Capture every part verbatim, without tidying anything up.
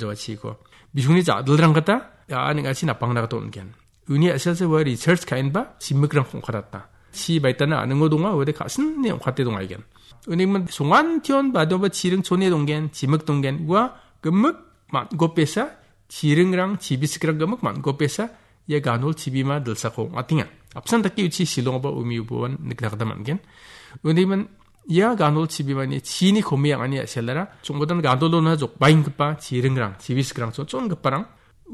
Jawa chiko. Bisongni ja·dilrang gita, a·a ning·achi napangna gita on·gen. Uni a·selsa ua research ka·enba chimikrang ong·katata. Chi baitana a·ningo donga, uade ka·sine ong·kate dongaigen. Uni min songan tion badoba chiring chone donggen, chimik donggen. Ua gimik man·gopesa, chiringrang, chibisikrang gimik man·gopesa, ia ganol chibima dilsako ong·atenga. Apsan dake uchi silongoba umi uboan nikna gita man·gen. Uni min ia ganol chibimani chini komi ang·ani a·selara, chongbodan ganolona jokbaenggipa chiringrang, chibisikrang, chonchongiparang,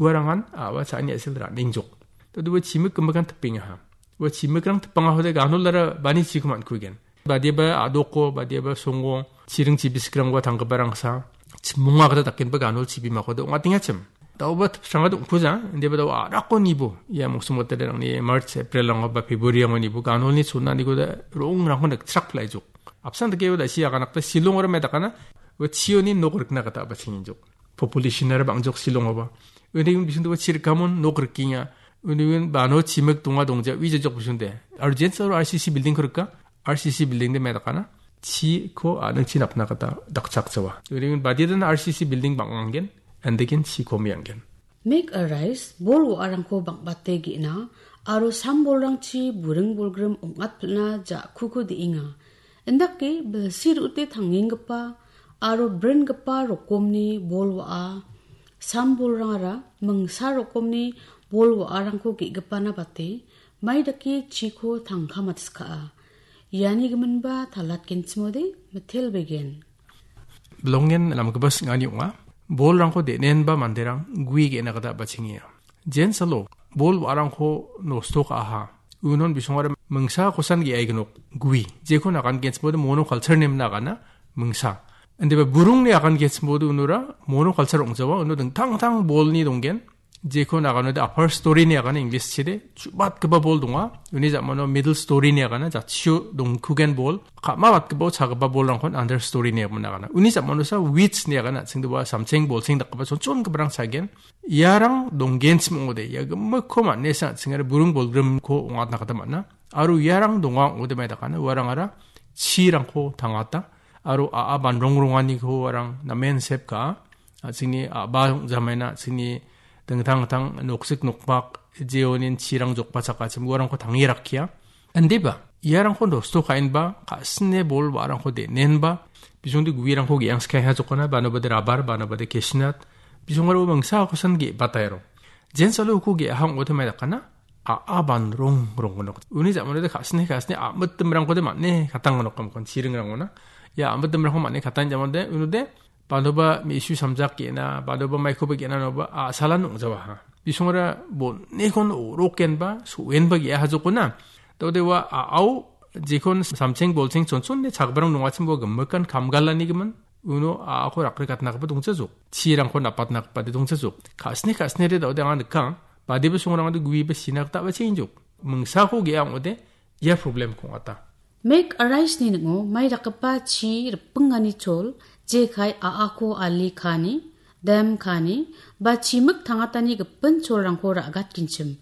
uarangan a·a cha·ani a·sel ra·nengjok. Todua chimik gimikan tipengaha. Ua chimikrang tipangahode ganolara bani chiko man·kugen. Badiaba a·doko, badiaba songo, chiring chibisikrangba tanggiparangsa, chimonga gita dakenba ganol chibimakode ong·atengachim. Daoba tipsranga dongkuja, indiba dao a·rako nibo. Ia mongsong botelerangni March, April-rango ba February-rango nibo ganolni chonaniko da rongrangko nikchrak plaijok. Apsan dake da si aganakta silongora me dakana, ua chioni nok rikna gita ba chinginjok. Population-ara bangjok silongoba. Uni un bisunde ua chirikamon nok rikenga. Uni un bano chimik donga dongja ui jajok bisunde. Aro jens aro R C C building ko rika. R C C building de me dakana. Chiko a·ningchi napna gita dakchakjawa. Uni un badiadan R C C building bang·anggen. Andekin chiko me·anggen. Make a rice, bol wa·arangko bang·bate ge·na, aro sambolrangchi buring bolgrim ong·atpilna ja·kuko de·enga. Indake bilsi ru·ute tangenggipa aro bringipa rokomni bol wa·a, sambolrangara mingsa rokomni bol wa·arangko ge·gipana bate, mai dake chiko tangka matskaa. Iani giminba talatgenchimode mitelbegen. Bilongen namgipa sing·ani ong·a. Bolrangko de·nenba manderang gue ge·na gita bachengenga. Jensalo bol wa·arangko nosto ka·aha. Unon bisongara mingsa kosan ge·aignok gue. Jeko nagan genchimode mono culture nemna agana mingsa. Indiba burungni agan genchimode unora mono culture ong·jawa. Uno dingtang dingtang bolni donggen. Jeko naganode upper story-ni agana English chide, chubatgipa bol donga. Uni ja·mano middle story-ni agana jatchio dongkugen bol. Ka·mabatgipao chagipa bolrangkon under story-ni agana. Uni ja·manosa weeds-ni agana, chingdiba samcheng bolcheng dakgipa chonchongiparang chagen. Iarang donggenchim ong·ode, ia gimikko man·esa an·chingare burung bolgrimko ong·atna gita man·a. Aro iarang donga ong·ode mai dakana, uarangara chirangko tangata. Aro a·a banrongronganiko uarang namen sep ka·a. A·chingni a·ba ong·jamaina, a·chingni dingtang dingtang noksik nokpak, jeonin chirang jokbachakachim uarangko tange rakkia. Indiba, iarangko nosto ka·enba, ka·sine bol wa·arangko de·nenba, bisongde guerangko ge·angskaiha jokana, banobade rabar, banobade cashew nut, bisongara mingsa akosan ge·bataero. Jensalo uko ge·aha ong·ode mai dakana, a·a banrong rong gnok. Uni ja·manode ka·sine, ka·sine a·mitdimrangkode man·e katang gnok kamkon chiringrangona. Ia a·mitdimrangko man·e katang ja·manode, unode, banoba me·su samjak ge·na, banoba maikoba ge·na noba a·salan ong·jawaha. Bisongara bon·ekon orokenba, so·enba ge·aha jokona. Daode ua a·ao jekon samcheng bolcheng chonchone chagbarang dongachim ua gimikan kamgalani gimin. Uno a·ako rakre katnagipa dongchajok. Chirangko napatnagipa de dongchajok. Ka·sine ka·sinere daode anga nika. Badiba songrangade gueba sina gita ba·cheengjok. Mingsako ge·a ong·ode ia problem kong·ata. Make a rice-ni ning·o mai dakgipa chi ripingani chol, jekai a·ako ali kani, dem kani, ba chimik tangatani gipin cholrangko ra·gatgenchim.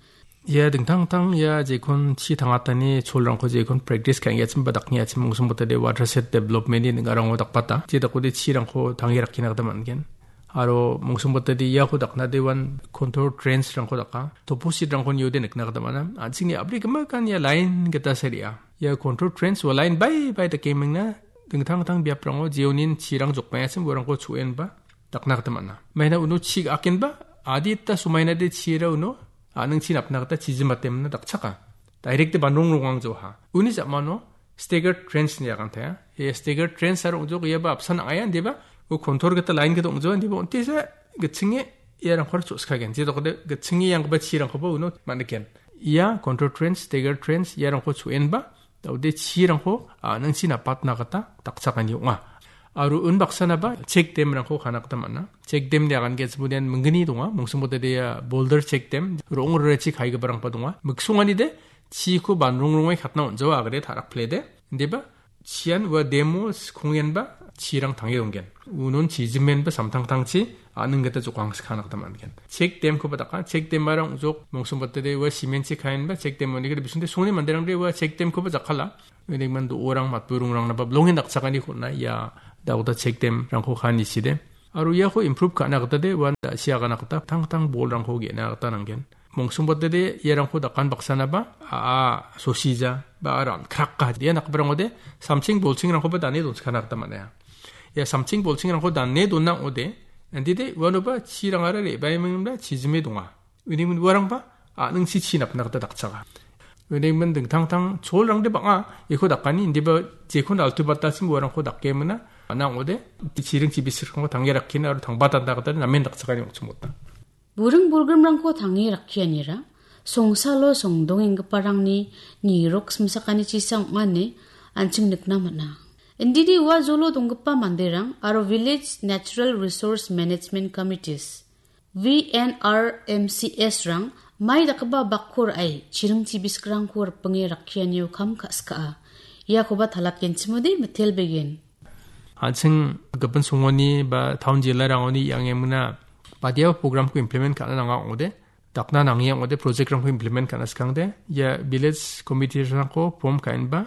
Ia dingtang dingtang ia jekon chi tangatani cholrangko jekon practice ka·engatim ba dakengachim mongsong botade watershed development-ni ning·arango dakbata. Je dakode chirangko tange rakkina gita man·gen. Aro mongsong botade iako dakna dewan contour trench-rangko daka. Topo seed-rangko niode nikna gita man·a. An·chingni a·bri gimikan ia line gita saria. Ia contour trench ua line bai bai dake mingna dingtang dingtang biaprango jeonin chirang jokbaengachim uarangko cho·enba dakna gita man·a. Maina uno chi ga·akenba adita somainade chira uno a·ningchi napna gita chijimbatemna dakchaka. Direct-de banrong rongangjoha. Uni ja·mano staggered trench-ni agantaia. Ia staggered trench aro ong·jok iaba apsan ang·aia, indiba u contour gita line gita ong·joa, indiba on·tisa gitchinge iarangko cho·skagen. Je dokode gitchinge ianggipa chirangkoba uno man·iken. Ia contour trench, staggered trench iarangko cho·enba, daode chirangko, a, nangchi napatna gita dakchakani ong·a. Aro unbaksanaba check dam-rangko kana gita man·a. Check dam-ni agan ge·chimode ian minggni donga. Mongsong botade ia boulder check dam, ro·ong rorechi kaigiparangba donga. Miksonganide chiko banrong rongai katna on·jawa agede ta·rakplede. Indiba chian ua dam-o skonggenba chirang tange donggen. Unon chijimenba samtangtangchi a·ning gita jokangsi kana gita man·gen. Check dam-koba daka, check dam-ara ong·jok, mongsong botade ua cement-chi kaenba check dam-oni gita bisingde songni manderangde ua check dam-koba jakkala. Unigimin do·orang matburingrangnaba bilongen dakchakani kon·a ia daoda check dam-rangko kanichide. Aro iako improve ka·na gita de uan da·si agana gita tangtang bolrangko ge·na gita nanggen. Mongsongbatede iarangko dakan baksanaba, a·a sosija, ba a rangkraka. Ia nakbarangode samching bolchingrangkoba dane donskana gita man·a. Ia samching bolchingrangko dane donna ong·ode, andide uanoba chirangara re·baimingba chijime donga. Uni uarangba a·ningsi chi napna gita dakchaga. Uni dingtang tang cholrangde bang·a, iko dakani, indiba jekon altu batasim uarangko dakemina, ana ong·ode, chiring chibisrangko tange rakkina aro tangba tanda gita namen dakchakani ong·chimota. Buring bolgrimrangko tange rakkianira, songsalo songdongenggiparangni nirok simsakani chisang ong·ane an·ching nikna man·a. Indidi ua jolo donggipa manderang aro Village Natural Resource Management Committees, V N R M C S rang mai dakgipa bakko ra·e chiring chibiskrangko ripinge rakkianio kam ka·skaa. Iakoba talatgenchimode mitelbegen. An·ching gipin songoni ba town jilarangoni iangemna badiaba programko implement ka·na nanga ong·ode, dakna nange ong·ode, projectrangko implement ka·na skangde, ia village committeerangko form ka·enba,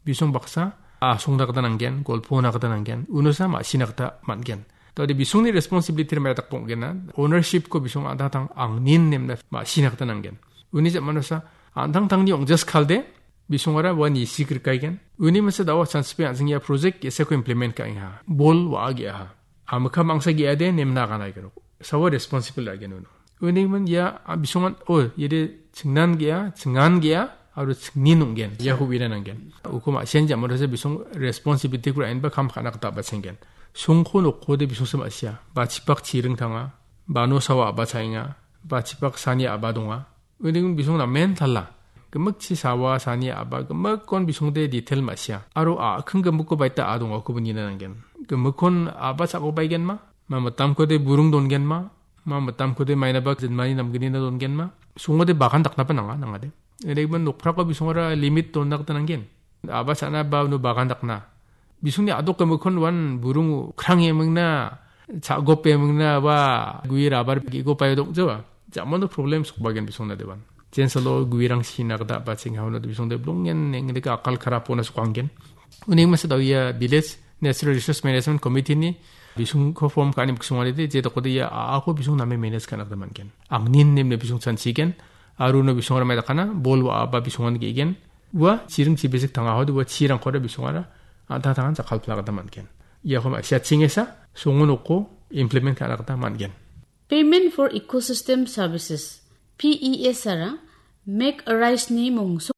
bisong baksa asongna gita nanggen, golpona gita nanggen, unosa ma·sina gita man·gen. Tode bisongni responsibility mai dakbong·gena, ownershipko bisong an·tangtang angnin nemna ma·sina gita nanggen. Uni jamanosa an·tangtangni ong·jaskalde, bisongara ua nisi grikaigen. Uni masa dawa chance pe an·sing ia project ge·sako implement ka·enga. Bol wa·a ge·aha. Amika mangsa ge·ade nemna aganaigerok. Sawa responsible agen uno. Uni man ia, a, bisongan, o, iade chingnan ge·a, chingan ge·a, aro chingnin ong·gen. Iako uina nanggen. Uko ma·sian jamarasa bisong responsibility-ko ra·enba kam ka·na gita ba chenggen. Songko nokkode bisongsa ma·sia. Bachipak chiring tanga. Bano sawa aba chaenga. Bachipak sani aba donga. Uning bisong namen tala. Gimikchi sawa sani aba gimikkon bisongde detail ma·sia. Aro a·keng gimikko baita a dongakoba nina nanggen. Gimikkon aba cha·go baigenma? Ma mitamkode burung dongenma? Ma mitamkode mainaba jinmani namgnina dongenma? Songode bagan daknaba nanga, nangade. Uning nokprako bisongara limit donna gita nanggen. Aba cha·na ba uno bagan dakna. Bisongni a·dok gimikkon wan burung krang emingna, cha·gop emingna, wa gue rabar ge·gop aio dok·jawa. Jamano problem sokbagen bisongna dewan. Jensalo guerang sina gita ba chengha uno bisongde blongen nengdeka akal karapona sokanggen. Uning masa dao ia Village Natural Resource Management Committee ni bisongko form ka·ani biksongaride, je dokode ia a·ako bisong name manage ka·na gita man·gen. Angnin nemne bisong chanchigen, aro uno bisong ramai dakana, bol wa·aba bisongan ge·gen. Ua chiring chibisik tangahode ua chirangkode bisongara an·tangtangan jakkalpla gita man·gen. Iako ma·sia chingesa, songo noko implement ka·na gita man·gen. Payment for Ecosystem Services, P E S R-a Make a Rice-ni mongso